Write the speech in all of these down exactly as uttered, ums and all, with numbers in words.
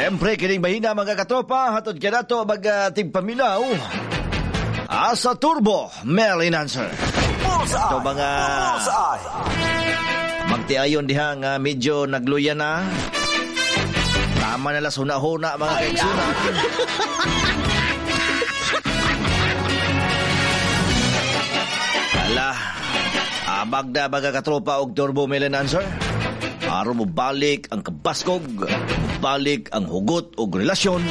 Siyempre, kining mahina mga katropa, hatod ka nato mag uh, tigpaminaw. Asa Turbo, Mel Enhancer. Bullseye! Ito mga Bullseye! magtiayon diha nga medyo nagluya na. Tama na lang huna-huna mga kaigsunan. Ala, abag na mga katropa og Turbo Mel Enhancer. Aron mo balik ang kabaskog, balik ang hugot og relasyon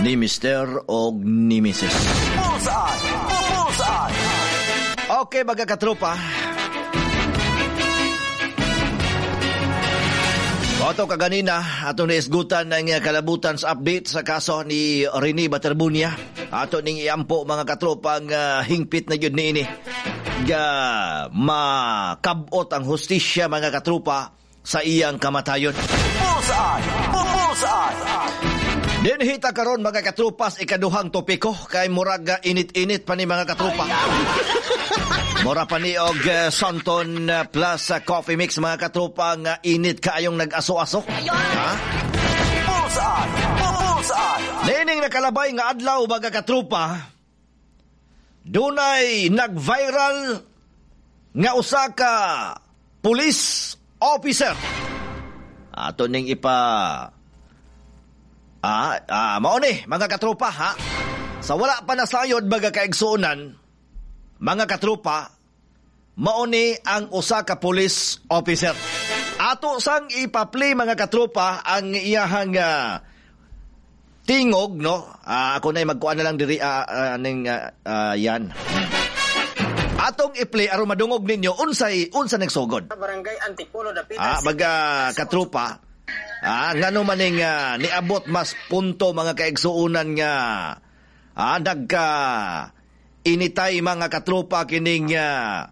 ni Mister og ni Missus Bullseye! Bullseye! Okay mga katropa. Oto kaganina, ato naisgutan ng kalabutan sa update sa kaso ni Rene Baterbunya. Ato ning iampo mga katropa ang uh, hingpit na yun niini. Ga makabot ang hustisya mga katropa sa iyang kamatayon. Bullseye! Bullseye! Dinhita karon mga katropas ikaduhang topiko kay murag uh, init-init pa ni mga katropa. Mura pa ni og uh, Santon uh, plus uh, coffee mix mga katropa nga init kaayong nag-aso-aso. Ha? Bullseye! Bullseye! Niining nakalabay nga adlaw mga katropa, dunay nag-viral nga usa ka police officer. Ato ning ipa Ah, ah, mao ni mga katropa ha. Sa wala pa nasayod mga kaigsuonan, mga katropa, mao ni ang usa ka police officer. Ato sang ipa-play mga katropa ang iyahang uh, tingog no. Ah, ako na magkuan na lang diri ah, ah, ning ah, ah, yan. Atong i-play aron madungog ninyo unsay unsa nagsugod. Barangay Antipolo, Dapitan Ah, City. mga katropa. Ah, ngano maning uh, niabot mas punto mga kaigsuonan nga ah, nagka initay mga katropa kining uh,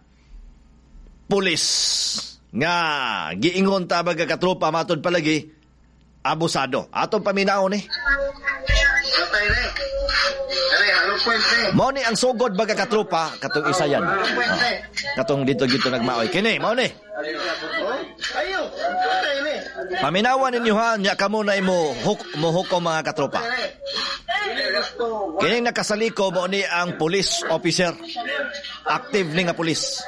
pulis nga giingon ta mga katropa matud palagi abusado. Atong paminaw ni. Mao ni ang sugod mga katropa katong isa yan. Oh, katong dito dito nagmaoy kini mao ni. Paminawan ninyo ha, nya kamo na imo huk, mo hukom mga katropa. Kining nakasaliko mo ni ang police officer. Active ni nga police.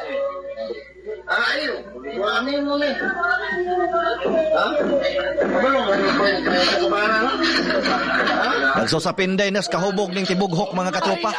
Nagsusapinday nas kahubog ning tibughok mga katropa.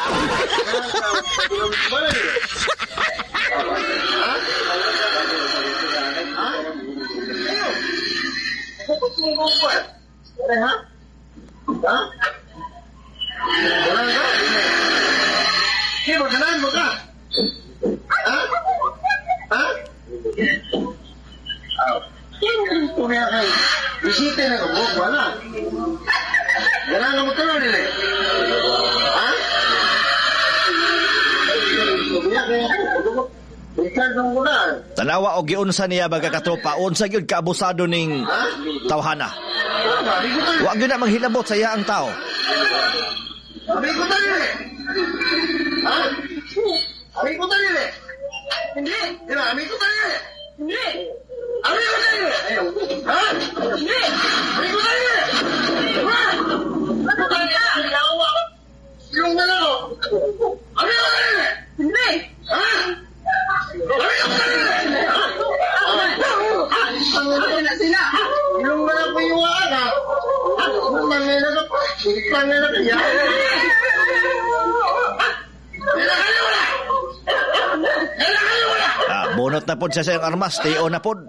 Tanawa og giunsa niya mga katropa, unsa gyud kaabusado ning tawhana. Wa gyud na manghilabot sa iya ang tao. Abi ko tali. Ha? Abi ko tali. Hindi. Di ba? Abi ko tali. Hindi. Abi ko tali. Ha? Hindi. Abi ko tali. Ha? Abi ko tali. Yung na ako. Abi ko tali. Hindi. Ha? Abi ko tali. Yung na ako yung aga. Ah, bunot na pod siya sa iyang armas, tiyo na pod.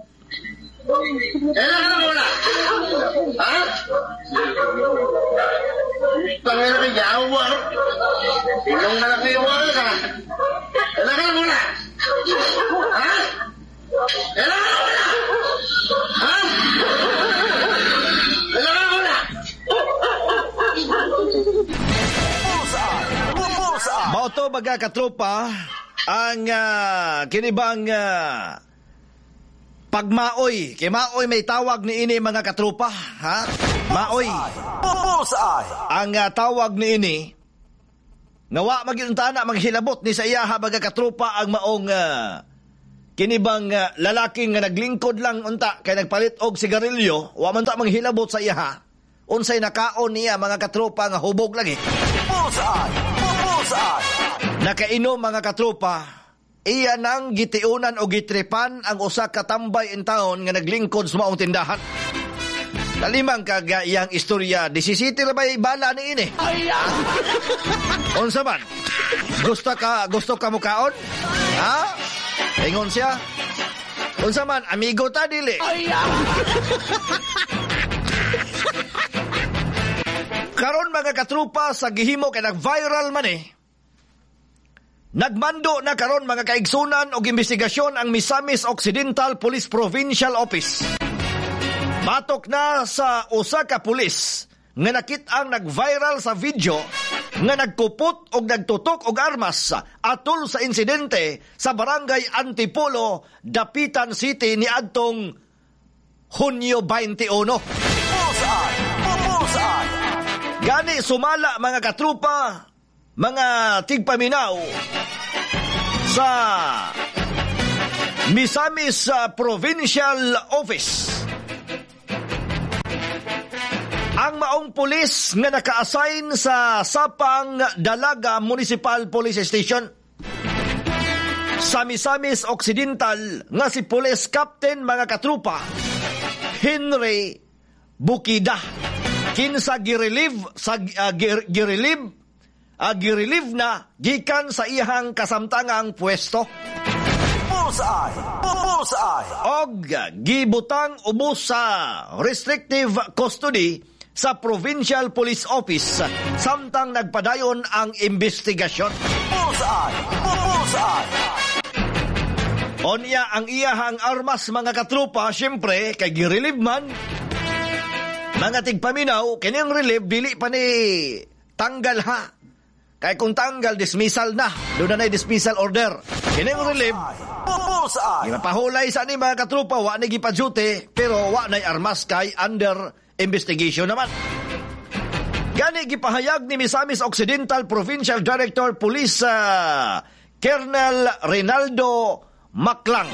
Bullseye! Mao to mga katropa ang uh, kinibang uh, pagmaoy. Kay maoy may tawag ni ini mga katropa, ha? Maoy. Bullseye! Ang uh, tawag ni ini nga wa magyunta na maghilabot ni sa iyaha mga katropa ang maong uh, kinibang uh, lalaki nga naglingkod lang unta kay nagpalit og sigarilyo, wa man ta manghilabot sa iyaha. Unsay nakaon niya mga katropa nga hubog lagi. Bullseye! Bullseye! Nakainom mga katropa, iya nang gitiunan o gitripan ang usa ka tambay in town nga naglingkod sa maong tindahan. Kalimang kaga iyang istorya, disisiti ra ba bala ni ini? Unsa man? Gusto ka gusto ka mukaon? Ha? Ingon siya. Unsa man, amigo ta dili. Karon mga katrupa sa gihimo kay nag-viral man eh. Nagmando na karon mga kaigsunan og investigasyon ang Misamis Occidental Police Provincial Office. Batok na sa usa ka pulis nga nakit-ang nag-viral sa video nga nagkupot og nagtutok og armas atol sa insidente sa Barangay Antipolo, Dapitan City niadtong Hunyo twenty-one. Bullseye! Bullseye! Gani sumala mga katrupa, mga tigpaminaw sa Misamis Provincial Office. Ang maong pulis nga naka-assign sa Sapang Dalaga Municipal Police Station sa Misamis Occidental nga si Police Captain mga katrupa Henry Bukida, kinsa girelieve sa uh, gir, girelieve uh, girelieve na gikan sa iyang kasamtangang pwesto. Bullseye! Bullseye! Og gibutang ubos sa restrictive custody sa Provincial Police Office samtang nagpadayon ang investigasyon. Bullseye! Bullseye! Onya ang iyahang armas mga katrupa, syempre kay girelieve man. Mga tigpaminaw, kining relieve dili pa ni tanggal ha. Kay kung tanggal, dismissal na. Doon na na'y dismissal order. Kining relieve, Bullseye! Gipahulay sa ni mga katrupa, wa ni gipa-duty, pero wa na'y armas kay under investigation naman. Gani gipahayag ni Misamis Occidental Provincial Director Police uh, Colonel Rinaldo Maclang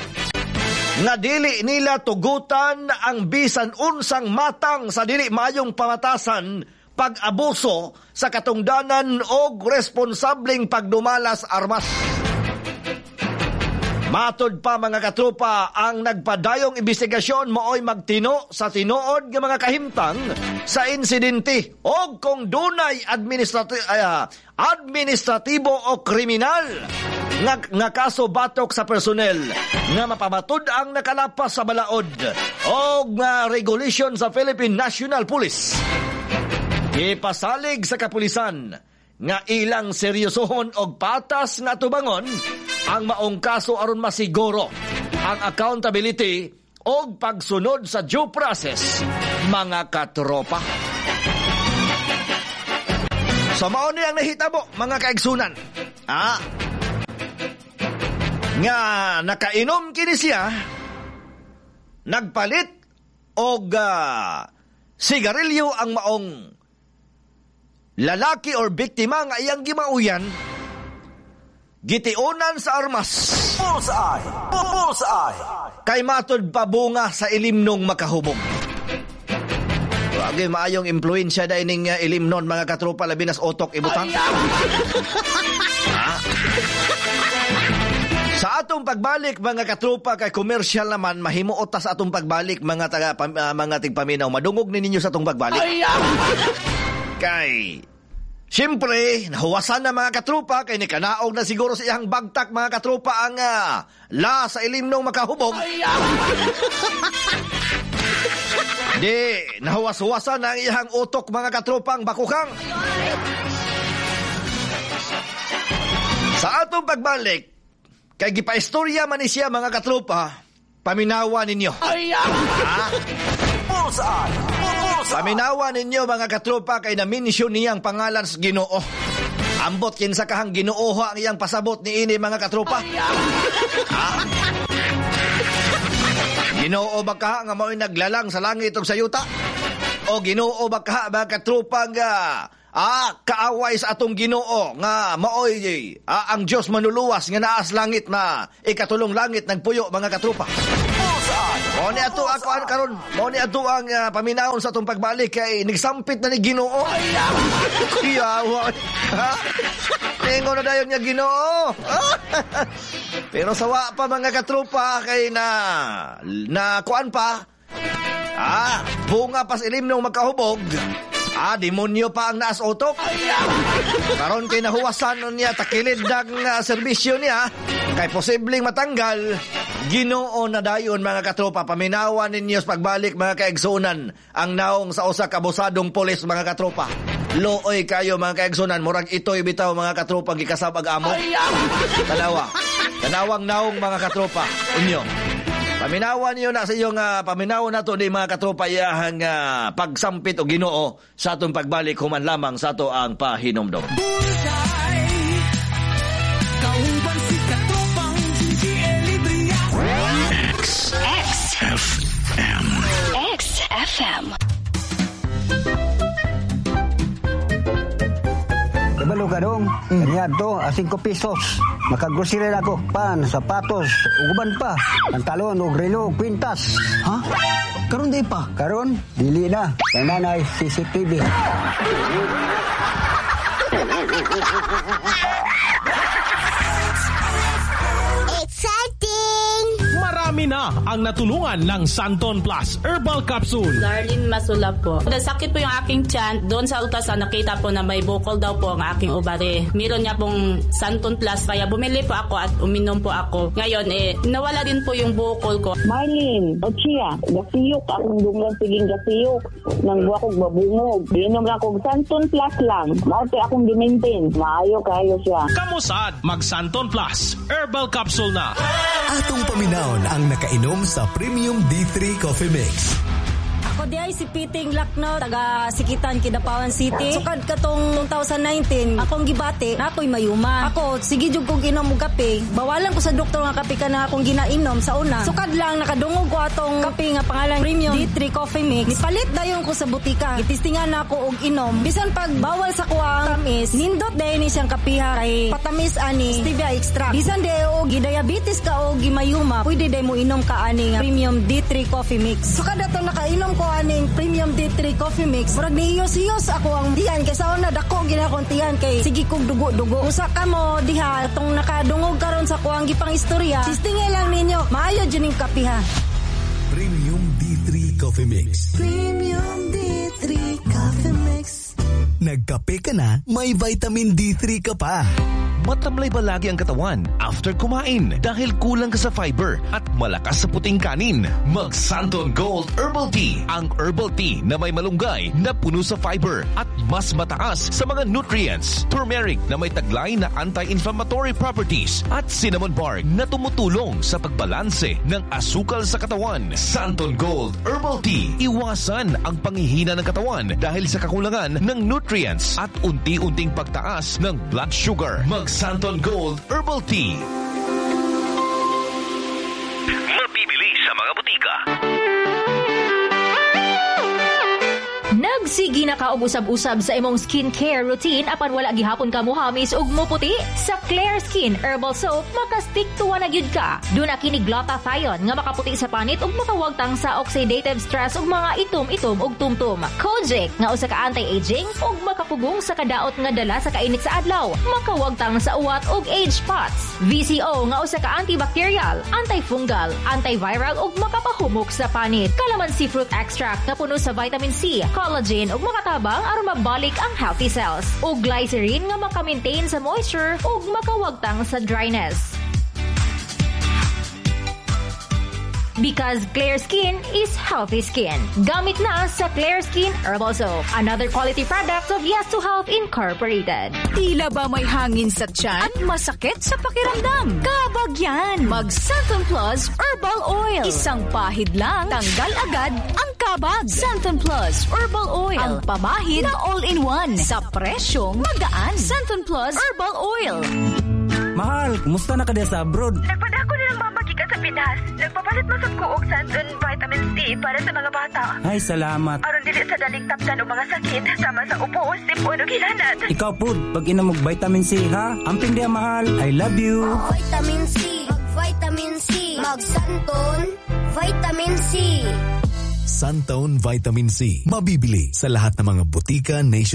nga dili nila tugutan ang bisan unsang matang sa dili maayong pamatasan, pag-abuso sa katungdanan og responsableng pagdumalas armas. Matod pa mga katropa, ang nagpadayong investigasyon maoy magtino sa tinuod nga mga kahimtang sa insidente og kung dunay administrati- uh, administratibo o kriminal nga, nga kaso batok sa personnel nga mapamatud ang nakalapas sa balaod og nga regulation sa Philippine National Police. Ipasalig sa kapulisan nga ilang seryosohon og patas nga tubangon ang maong kaso aron masiguro ang accountability og pagsunod sa due process mga katropa. So mao ni ang nahitabo mga kaigsunan. Ah, nga nakainom kini siya, nagpalit og uh, sigarilyo ang maong lalaki or biktima nga iyang gimauyan, gitiunan sa armas. Bullseye! Bullseye! Kay matod pabunga sa ilimnong makahubog. Wagi maayong impluwensya da ining uh, ilimnon mga katropa, labi nas otok ibutang. Ah. Sa atong pagbalik mga katropa, kay commercial naman, mahimuot ta sa atong pagbalik mga taga uh, mga tigpaminaw. Madungog ni ninyo sa atong pagbalik. Kay siyempre, nahuwasan na mga katropa, kay nikanaog na siguro sa iyang bagtak mga katropa ang uh, la sa ilimnong makahubog. Di, nahuwas-huwasan na ang iyang utok mga katropa ang bakukang. Sa atong pagbalik, kay gipaistorya man ni siya mga katropa, paminawa ninyo. Ha? Bullseye! Bullseye! Paminawa ninyo mga katropa kay na-mention niyang pangalan sa Ginoo. Ambot kinsa kahang Ginoo ang iyang pasabot niini mga katropa. Ha? Ginoo ba ka nga mao'y naglalang sa langit ug sa yuta? O Ginoo ba ka mga katropa nga ah, kaaway sa atong Ginoo nga maoy ah, ang Dios manuluwas nga naas langit na ikatulong langit nagpuyo mga katropa? Bullseye! Mao ni ato ako an karon, mao ni ato ang uh, paminawon sa atong pagbalik kay nagsampit na ni Ginoo. Kuyawa. Ha? Ningon na dayon niya Ginoo. Pero sawa pa mga katropa kay na na kuan pa. Ah, bunga pas ilim nung magkahubog. Ah, demonyo pa ang naas utok. Karon kay nahuwasan nun niya takilid ng uh, serbisyo niya kay posibleng matanggal. Ginoo na dayon mga katropa, paminawan ninyo sa pagbalik mga kaigsunan ang naong sa usa ka abusadong pulis mga katropa. Looy kayo mga kaigsunan, murag ito'y bitaw mga katropa gikasab-ag amo. Tanawa. Tanawang naong mga katropa inyo. Paminawan niyo na sa iyong uh, paminawan nato ni mga katropa iyahang uh, pagsampit og Ginoo sa atong pagbalik human lamang sa ato ang pahinomdom. Bullseye, kauban si katropang G G L Librias. X X F M. X F M. Kabalo ka dong, mm. to, a singko pesos. Makagrocery na ako, pan, sapatos, uguban pa, pantalon, ug relo, kwintas. Ha? Karon di pa? Karon, dili na. Kay nanay, C C T V. Exciting! Marami na ang natulungan ng Santon Plus Herbal Capsule. Darlene Masula po. Nasakit po yung aking tiyan. Doon sa ultrasound, nakita po na may bukol daw po ang aking ovary. Meron niya pong Santon Plus, kaya bumili po ako at uminom po ako. Ngayon, eh, nawala din po yung bukol ko. Marlene, Ochia, gasiyok akong dunggan, siging gasiyok. Nangguwa kog babungog. Inom lang kog Santon Plus lang. Mao akong gimaintain. Maayo kayo siya. Kamusad, mag Santon Plus Herbal Capsule na. Atong paminawon ang nakainom sa Premium D three Coffee Mix. Ako di ay si Piting Lakno, taga Sikitan, Kidapawan City. Sukad katong twenty nineteen, akong gibati, na ako'y mayuma. Ako, sige jud kog inom og kape. Bawalan ko sa doktor nga kape ka na akong ginainom sa una. Sukad lang nakadungog ko atong kape nga pangalan Premium D three Coffee Mix. Nipalit dayon ko sa butika. Gitistingan na ako og inom. Bisan pag bawal sa kuang tamis, nindot dayon ni siyang kapiha kay patamis ani stevia extract. Bisan di og gidiabetes ka o gimayuma, pwede day mo inom ka ani nga Premium D three Coffee Mix. Sukad ato nakainom ko aning Premium D three Coffee Mix, murag nihiyos-hiyos ako ang tiyan kay sa una dako gina akong tiyan kay sige kog dugo-dugo. Usa ka mo diha atong nakadungog karon sa kuang gipang istorya, testingay lang ninyo, maayo jud ning kapiha. Premium D three Coffee Mix. Premium D three Coffee Mix. Nagkape ka na, may vitamin D three ka pa. Matamlay ba lagi ang katawan after kumain dahil kulang ka sa fiber at malakas sa puting kanin? Mag Santon Gold Herbal Tea, ang herbal tea na may malunggay na puno sa fiber at mas mataas sa mga nutrients. Turmeric na may taglay na anti-inflammatory properties at cinnamon bark na tumutulong sa pagbalanse ng asukal sa katawan. Santon Gold Herbal Tea. Iwasan ang panghihina ng katawan dahil sa kakulangan ng nutrients at unti-unting pagtaas ng blood sugar. Mag Santon Gold Herbal Tea. Mabibili sa mga butika. Nagsige na ka og usab-usab sa imong skincare routine apan wala gihapon ka muhamis ug muputi? Sa Claire Skin Herbal Soap, makastick to na gyud ka. Duna kini glutathione nga makaputi sa panit ug makawagtang sa oxidative stress ug mga itom-itom ug tumtum. Kojic nga usa ka anti-aging ug makapugong sa kadaot nga dala sa kainit sa adlaw, makawagtang sa uwat ug age spots. V C O nga usa ka antibacterial, antifungal, antiviral ug makapahumok sa panit. Calamansi fruit extract nga puno sa vitamin C, collagen ug makatabang aron mabalik ang healthy cells. Ug glycerin nga maka-maintain sa moisture ug makawagtang sa dryness. Because clear skin is healthy skin. Gamit na sa Clear Skin Herbal Soap. Another quality product of Yes to Health Incorporated. Tila ba may hangin sa tiyan at masakit sa pakiramdam? Kabag yan! Mag Santon Plus Herbal Oil. Isang pahid lang, tanggal agad ang kabag. Santon Plus Herbal Oil. Ang pamahid na all-in-one. Sa presyong magaan. Santon Plus Herbal Oil. Mahal, kumusta na ka sa abroad? Nagpadako na lang mama gikan sa Pinas. Nagpapalit man sad ko og Santon Vitamin C para sa mga bata. Ay, salamat. Aron dili sa daling tapdan og mga sakit sama sa ubo, sipon ug hilanat. Ikaw pud, pag inom og vitamin C ha. Amping diya, mahal. I love you. Vitamin C, mag vitamin C, mag Santon. Vitamin C. Santone Vitamin C. Mabibili sa lahat ng mga botika nationwide.